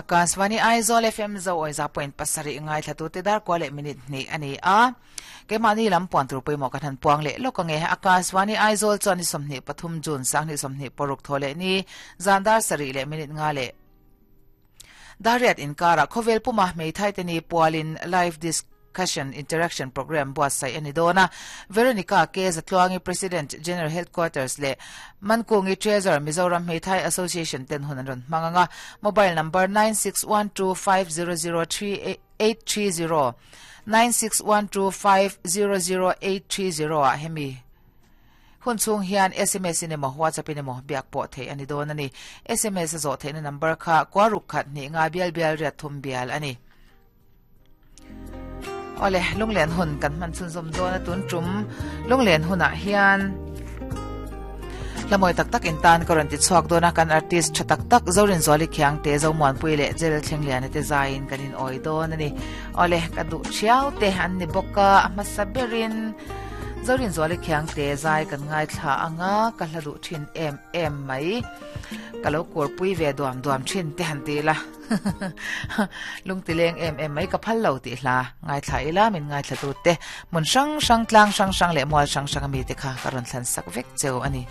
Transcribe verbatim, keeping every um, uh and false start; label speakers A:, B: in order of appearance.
A: Akashvani Aizawl F M zo oi za point pasarih ngaithla tu te dar kual leh minute hnih a ni a. Keimahni lam puan tur pawimawh kan han puang leh lawk ange. Akashvani Aizawl chuan ni sawmhnih pathum June sanghnih sawmhnih paruk thaw leh ni zan dar sarih leh minute nga leh dariat inkara khawvel puma hmeithai te ni pualin live discussion interaction program buatsaih a ni dawn a. Veronica K Zatluangi President General Headquarters leh Mankungi Treasurer Mizoram Hmeithai Association ten hun an rawn hmang anga. Mobile number nine six one two five zero zero three eight three zero nine six one two five zero zero eight three zero ah hemi hun chung hian S M S in emaw WhatsApp in emaw biak pawh theih a ni dawn a ni. S M S a zawh theihna number kha kuaruk khat hnih nga bial bial riat thum bial a ni. Ole lunglen hun kan hman chhun zawm dawn a tun tum lunglen hunah hian lamoi tak tak in tan ka rawn ti chhuak dawn a kan artist tha tak tak Zorin Zuali Khiang te zo muanpui leh Jel Thleng Lian te zaiin kan in awi dawn a ni. Ole ka duh thiau te an ni bawk a a hmasa berin Zorin Zuali Khiang te zai kan ngai thla anga ka hla duh thin em em mai ka lo kurpui ve duam duam thin te han ti la lungtileng em em mai ka phal lo ti hla ngai thla ila min ngai thla tu te mun sang sang tlang sang sang leh mual sang sang ami te kha ka rawn thlan sak vek cheu ani.